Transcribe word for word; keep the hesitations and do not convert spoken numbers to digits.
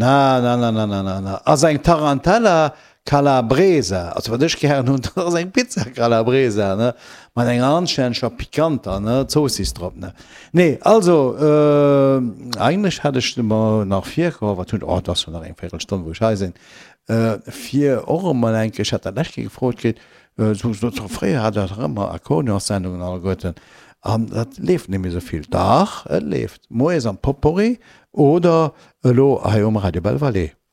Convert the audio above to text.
Na, na, na, na, na, na, na. Ass eng Tarantella Calabresa. Also wat ech gären hunn, dat ass eng Pizza Calabresa, ne? Mat enger anstänneger pikanter, ne, Zoossiss drop, ne? Nee, also, äh, eigentlech hat ech mer nach virgeholl, wat hunn, oh, et ass jo nach eng Véirelstonn, wou ech hei sinn, äh, fir och emol eng Kéier, ech hat dat d'lescht Kéier gefrot kritt, äh, sou, sou, fréier hat Der dach ëmmer Akkordeonssendungen alleguerten, an dat leeft net méi esou vill. Dach, et leeft, moies am Potpourri oder elo hei um Radio Belval.